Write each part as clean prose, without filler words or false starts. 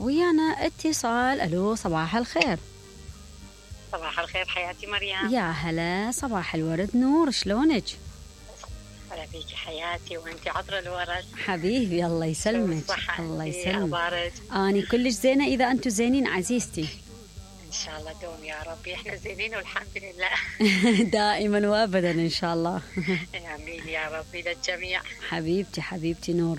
ويانا اتصال. الو صباح الخير. صباح الخير حياتي مريم. يا هلا، صباح الورد نور، شلونك؟ هلا بيكي حياتي، وانت عطر الورد حبيبي الله يسلمك. الله يسلمك. اخبارك؟ اني كلش زينه اذا انتم زينين عزيزتي. ان شاء الله دوم يا ربي، احنا زينين والحمد لله. دائما وابدا ان شاء الله. امين يا ربي للجميع. حبيبتي نور،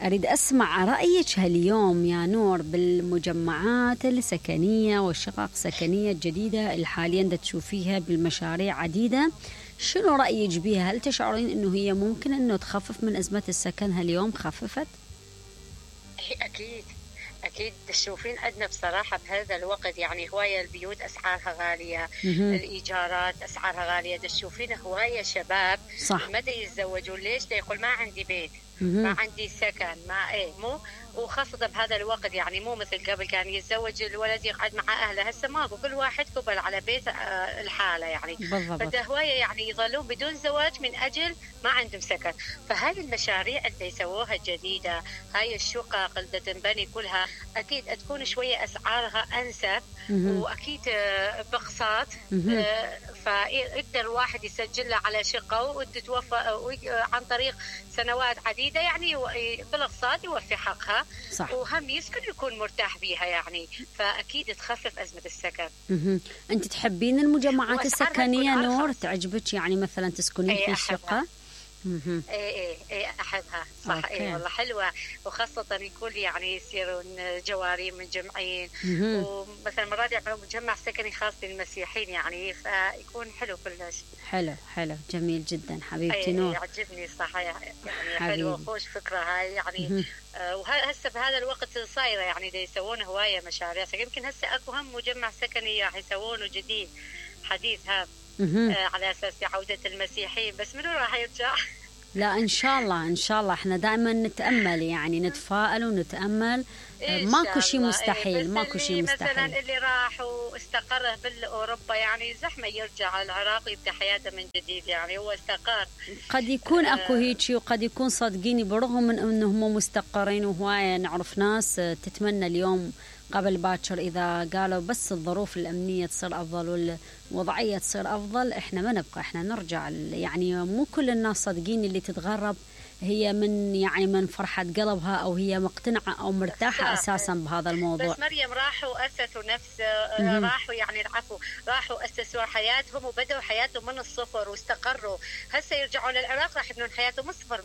أريد أسمع رأيك هاليوم يا نور بالمجمعات السكنية والشقق السكنية الجديدة اللي حاليا تشوفيها بالمشاريع عديدة. شنو رأيك بيها؟ هل تشعرين أنه هي ممكن أنه تخفف من أزمة السكن هاليوم؟ خففت؟ أكيد تشوفين عندنا بصراحة بهذا الوقت يعني هواية البيوت أسعارها غالية، الإيجارات أسعارها غالية. تشوفين هواية شباب صح ما يتزوجون. ليش؟ يقول ما عندي بيت، ما عندي سكن، ما مو، وخاصة بهذا الوقت يعني مو مثل قبل كان يتزوج الولد يقعد مع أهله. هسه ماكو، كل واحد قبل على بيت الحالة يعني. بالضبط. فهواية يعني يظلون بدون زواج من أجل ما عندهم سكن. فهذه المشاريع اللي يسووها الجديدة، هاي الشقق اللي تنبني كلها أكيد تكون شوية أسعارها أنسب، وأكيد بقساط. فيقدر الواحد يسجل له على شقة وتتوفى عن طريق سنوات عديدة يعني بالاقساط يوفي حقها. صح. وهم يسكن يكون مرتاح بيها يعني. فأكيد تخفف أزمة السكن. أنت تحبين المجمعات السكنية نور؟ تعجبك يعني مثلا تسكنين في الشقة؟ ايه احبها صح. ايه والله حلوه، وخاصه يكون يعني يصيرون جواري منجمعين، ومثلا مرات يعملون مجمع سكني خاص للمسيحيين يعني، فيكون حلو كلش. حلو جميل جدا حبيبتي نور. يعجبني صح يعني حلوه خوش فكره هاي يعني. وهسه بهذا الوقت صايره يعني يسوون هوايه مشاريع. يمكن هسه اكو هم مجمع سكني راح يسوونه جديد حديث هذا على أساس عودة المسيحيين، بس منو راح يرجع؟ لا إن شاء الله إحنا دائما نتأمل يعني نتفائل ونتأمل. ماكو شيء مستحيل، ماكو شيء مستحيل. مثلا اللي راح واستقر بالأوروبا يعني زحمة يرجع العراق يبدأ حياته من جديد يعني. هو استقر، قد يكون أكو هيك، وقد يكون صدقيني برغم من أنهم مستقرين. وهواية نعرف ناس تتمنى اليوم قبل باكر إذا قالوا بس الظروف الأمنية تصير أفضل والوضعية تصير أفضل إحنا ما نبقى، إحنا نرجع. يعني مو كل الناس صدقين اللي تتغرب هي من فرحة قلبها أو هي مقتنعة أو مرتاحة أساسا بهذا الموضوع. بس مريم راحوا أسسوا راحوا يعني راحوا أسسوا حياتهم وبدأوا حياتهم من الصفر واستقروا. هسه يرجعون للعراق راح يبنون حياتهم من الصفر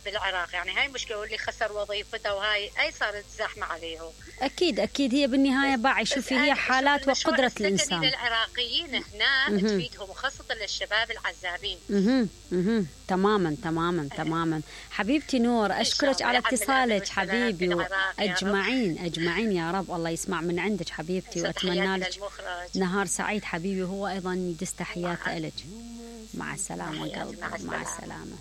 بالعراق يعني. هاي مشكلة، واللي خسر وظيفته وهاي صارت زحمة عليهم. أكيد هي بالنهاية باعي. شوفي هي حالات وقدرة الإنسان. العراقيين هنا تفيدهم، وخاصة للشباب العزابين. تماما حبيبتي نور، أشكرك على اتصالك حبيبي، وأجمعين يا رب الله يسمع من عندك حبيبتي، وأتمنى لك نهار سعيد حبيبي. هو أيضا يدس تحيات لك. مع السلامة قلبي، مع السلامة.